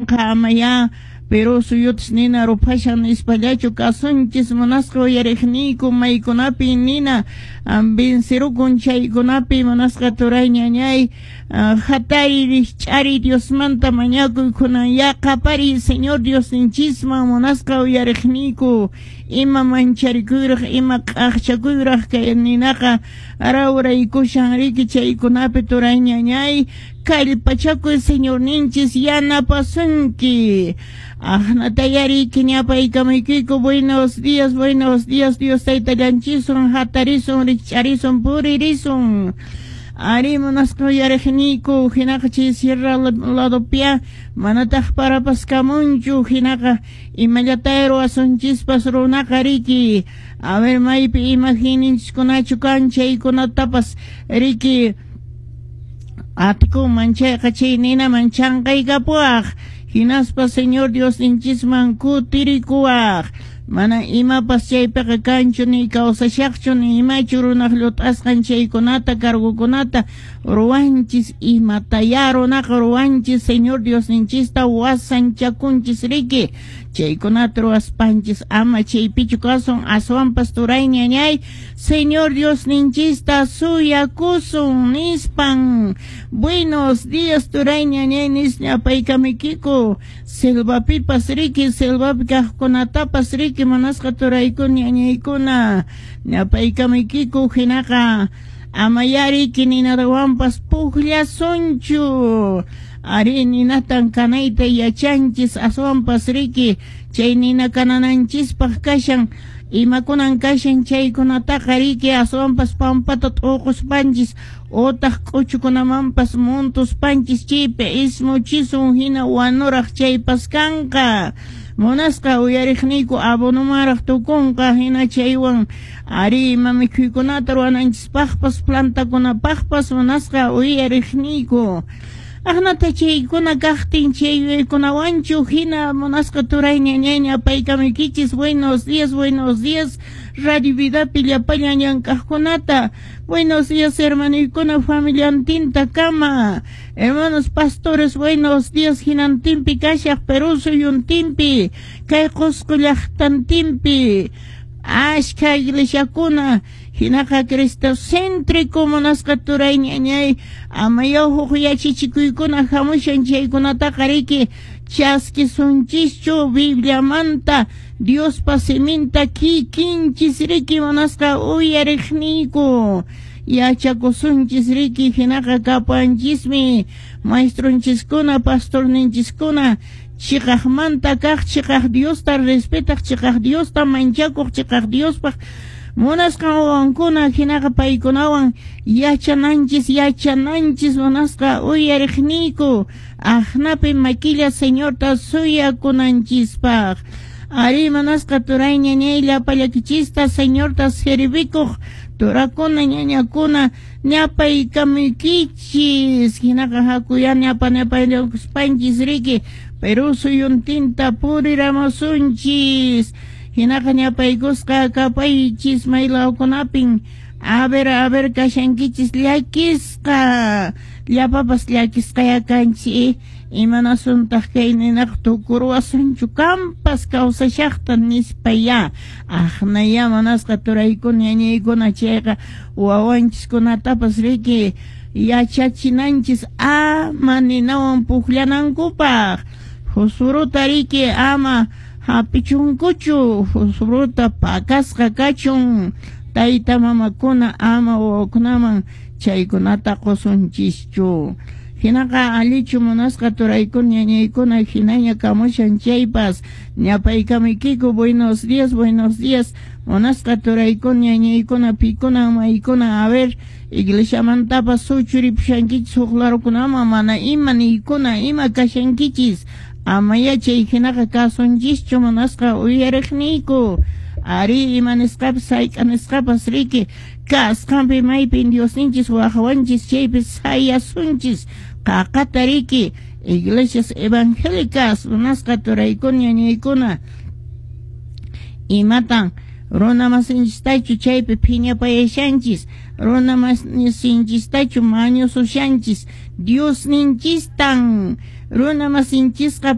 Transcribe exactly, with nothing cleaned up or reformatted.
Amayá Perú suyutas nina ruphashan nispallachu kasunchis munasqa uyariqniyku maykunapi nina vencerukun chaykunapi munasqa turay ñañay hatari rikch'ari Diosmanta mañakuy kunan qapariy Señor Diosninchisman munasqa uyariqniyku ima mancharikuyraq ima q'aqchakuyraq kay ninaqa rawraykushan riki chaykunapi turay ñañay kallpachakuy Señorninchis yanapasunki. Aqnatayariki ñapaykamaykiku buenos días, buenos días, Dios taytallanchisun hatarisun rikch'arisun puririsun. Ari munasqa uyariqniyku hinaqa chay sierra ladopia manataq parapas kamunchu hinaqa imallatay ruwasunchispas runaqa riki a ver maypi imagininchikunachu kan chaykunatapas riki atikunman chayqa chay ninaman chanqaykapuwaq hinaspa Señor Diosninchisman kutirikuwaq mana imapas chaypiqa kanchu ni kawsashaqchu ni imachu runaq llut'asqan chaykunata cargokunata ruwanchis imataya runaqa ruwanchis Señor Diosninchista wasanchakunchis riki chaykunata ruwaspanchis ama chaypichu kasun aswanpas turay ñañay Señor Diosninchista suyakusun nispan. Buenos días turay ñañay nisñapaykamuykiku selvapipas riki selvapi kaqkunatapas riki munasqa turaykuna ñañaykuna ñapaykamuykiku hinaqa amayariki ninadawanpas pukllasunchu ari ninatan kanayta yachanchis aswanpas riki chay nina kanananchispaq kashan imakunan kashan chaykunataqa riki aswanpas pampata t'uquspanchis otaq k'uchukunamanpas muntuspanchis chaypi ismuchisun hina wanuraq chaypas kanqa munasqa uyariqniyku abonomaraq tukunqa hina chaywan ari ima mikhuykunata ruwananchispaqpas plantakunapaqpas munasqa uyariqniyku aqnata chaykuna kaqtin chay yuyaykunawanchu hina munasqa turay ñañay ñapaykamuykichis buenos días, buenos días Radio Vidapi llapallan llank'aqkunata buenos días hermanuykuna familiantinta kama hermanos pastores buenos días hinantinpi kashaq Perú suyuntinpi kay Qusqu llaqtantinpi ashka iglesiakuna hinaqa cristocéntrico munasqa turay ñañay amayaw huk yachachikuykuna hamushan chaykunataqa riki chaskisunchischu Bibliamanta Diospa siminta kikinchis riki munasqa uyariqniyku yachakusunchis riki hinaqa kapanchismi maestronchiskuna pastorninchiskuna chiqaqmanta kaq chiqaq Diosta respetaq chiqaq Diosta manchakuq chiqaq Diospaq munasqa wawankuna hinaqa paykunawan yachananchis yachananchis munasqa uyariqniyku aqnapi makilla Señorta suyakunanchispaq ari munasqa turay ñañay llapallakichista Señorta servikuq turakuna ñañakuna ñapaykamuykichis hinaqa hakuya ñapa ñapayllakuspanchis riki Perú suyuntinta puriramusunchis hinaqa ñapaykusqa kapaychis maylawkunapin a ver a ver kashankichis llakisqa llapapas llakisqaya kanchik imanasuntaq kay ninaq tukuruwasunchu kampas kawsashaqta nispaya aqnaya munasqa turaykuna ñañaykuna chayqa wawanchiskunatapas riki yachachinanchis ama ninawan pukllanankupaq fosforota riki ama hapichunkuchu fosforota pakasqa kachun tayta mamakuna ama wawakunaman chaykunata qusunchischu hinaqa allichu munasqa turaykuna ñañaykuna hinaña kamushan chaypas ñapaykamuykiku buenos días, buenos días munasqa turaykuna ñañaykuna pikuna maykuna a ver iglesiamantapas suchuripushankichis huk larukunaman mana ima niykuna ima kashankichis amaya chay hinaqa kasunchischu munasqa uyariqniyku ari ima nisqapas hayk'a nisqapas riki kasqanpi maypin Diosninchis waqawanchis chaypi sayasunchis qaqata riki iglesias evangélicas munasqa turaykuna ñañaykuna imatan runa masinchistachu chaypi phiñapayashanchis runa masinchistachu mañusushanchis Diosninchistan Runa masinchisqa.